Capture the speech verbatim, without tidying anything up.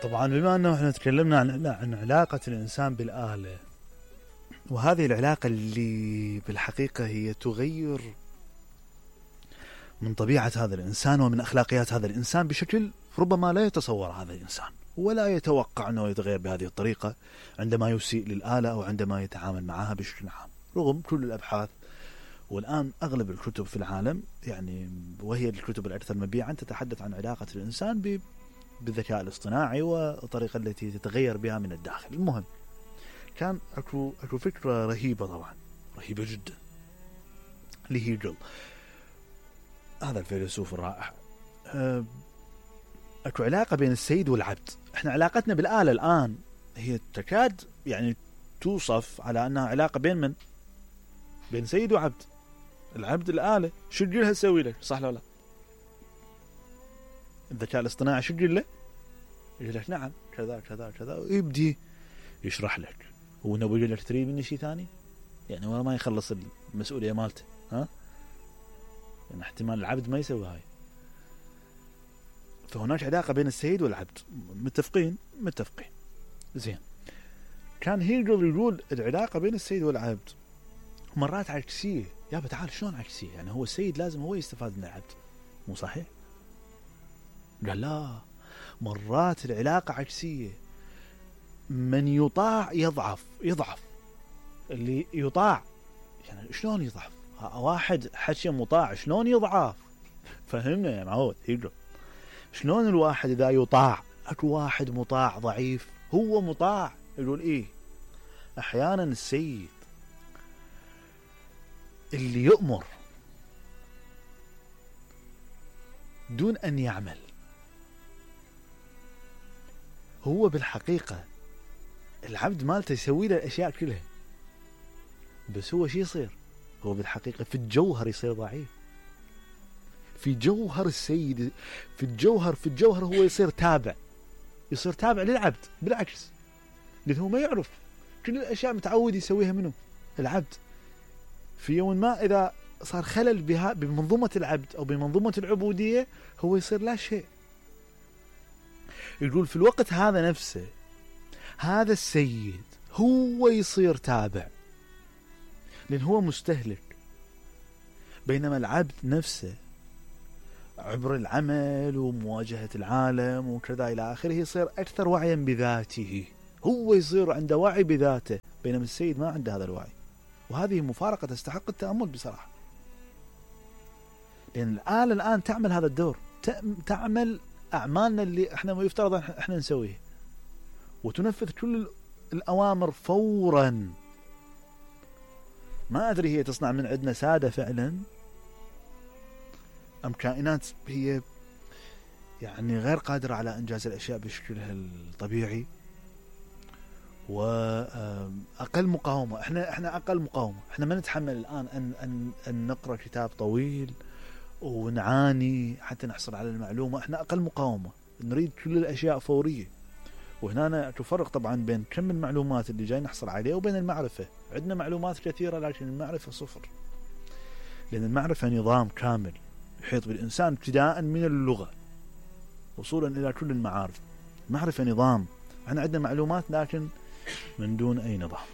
طبعا بما أنه احنا تكلمنا عن, عن علاقة الإنسان بالآلة، وهذه العلاقة اللي بالحقيقة هي تغير من طبيعة هذا الإنسان ومن أخلاقيات هذا الإنسان بشكل ربما لا يتصور هذا الإنسان، ولا يتوقع أنه يتغير بهذه الطريقة عندما يسيء للآلة أو عندما يتعامل معها بشكل عام، رغم كل الأبحاث والآن أغلب الكتب في العالم، يعني وهي الكتب الأكثر مبيعا، تتحدث عن علاقة الإنسان بالذكاء الاصطناعي والطريقة التي تتغير بها من الداخل. المهم، كان أكو, أكو فكرة رهيبة، طبعا رهيبة جدا، لهيجل هذا الفيلسوف الرائع. أكو علاقة بين السيد والعبد. احنا علاقتنا بالآلة الآن هي تكاد يعني توصف على أنها علاقة بين من؟ بين سيد وعبد. العبد الآلة شو تقولها تسوي لك، صح ولا لا؟ الذكاء الاصطناعي شو تقول له؟ يقول لك نعم كذا كذا كذا، ويبدي يشرح لك. هو نبي يقول لك تريد مني شيء ثاني؟ يعني ولا ما يخلص المسؤولية مالته، ها؟ يعني احتمال العبد ما يسوي هاي. فهناك علاقة بين السيد والعبد. متفقين؟ متفقين. زين. كان هيجل يقول العلاقة بين السيد والعبد مرات عكسية. يا تعال شلون عكسية؟ يعني هو السيد لازم هو يستفاد من العبد، مو صحيح؟ قال لا، مرات العلاقة عكسية. من يطاع يضعف يضعف اللي يطاع يعني شلون يضعف؟ واحد حكي مطاع شلون يضعف؟ فهمنا يا معود هيجل، شلون الواحد إذا يطاع؟ أكو واحد مطاع ضعيف، هو مطاع. يقول إيه، أحيانا السيد اللي يؤمر دون أن يعمل هو بالحقيقة العبد مالته يسوي له الأشياء كلها، بس هو شي يصير؟ هو بالحقيقة في الجوهر يصير ضعيف. في جوهر السيد، في الجوهر في الجوهر هو يصير تابع، يصير تابع للعبد. بالعكس، لأنه ما يعرف كل الأشياء متعود يسويها منه العبد. في يوم ما إذا صار خلل بها بمنظومة العبد أو بمنظومة العبودية، هو يصير لا شيء. يقول في الوقت هذا نفسه هذا السيد هو يصير تابع، لأن هو مستهلك، بينما العبد نفسه عبر العمل ومواجهة العالم وكذا إلى آخره يصير أكثر وعيا بذاته، هو يصير عنده وعي بذاته، بينما السيد ما عنده هذا الوعي. وهذه مفارقة تستحق التأمل بصراحة، لأن الآلة الآن تعمل هذا الدور، تعمل أعمالنا اللي احنا يفترض احنا نسويه، وتنفذ كل الأوامر فورا. ما أدري هي تصنع من عندنا سادة فعلا أم كائنات هي يعني غير قادرة على إنجاز الأشياء بشكلها الطبيعي وأقل مقاومة. إحنا إحنا أقل مقاومة. إحنا ما نتحمل الآن أن أن أن نقرأ كتاب طويل ونعاني حتى نحصل على المعلومة. إحنا أقل مقاومة، نريد كل الأشياء فورية. وهنا تفرق طبعا بين كم المعلومات اللي جاي نحصل عليها وبين المعرفة. عندنا معلومات كثيرة لكن المعرفة صفر، لأن المعرفة نظام كامل يحيط بالإنسان ابتداء من اللغة وصولا إلى كل المعارف. المعرفة نظام، احنا عندنا معلومات لكن من دون أي نظام.